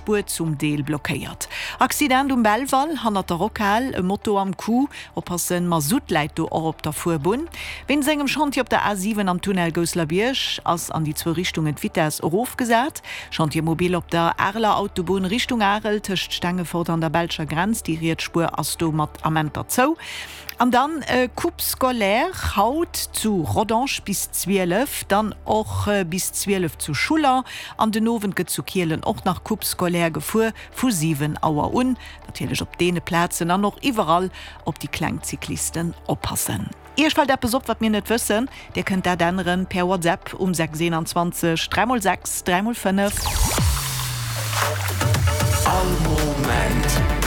Spuer zum Deel blockéiert. Accident um Belval, hannert der Rockhal, e Moto am Coup. Oppassen, Masutt läit do och op der Fuerbunn. Wéinst engem Chantier op der A7 am Tunnel Gousselerbierg ass an déi zwou Richtungen d'Vitess erofgesat. Chantier mobile op der Areler Autobunn Richtung Arel tëscht Stengefort an der belscher Grenz, déi riets Spuer ass do mat Amenter zou. An dann Coupe scolaire haut zu Rodange bis 12, dann och bis 12 zu Schuller an den Owend gëtt zu Kielen och nach Coupe scolaire gefuer vu 7 Auer un. Natierlech op deene Plazen an och iwwerall op déi kleng Cyclisten oppassen. Iech fält eppes op, wat mir net wëssen? Dir kënnt dat änneren per WhatsApp um 6 21 3 x 6 3 x 5. All Moment.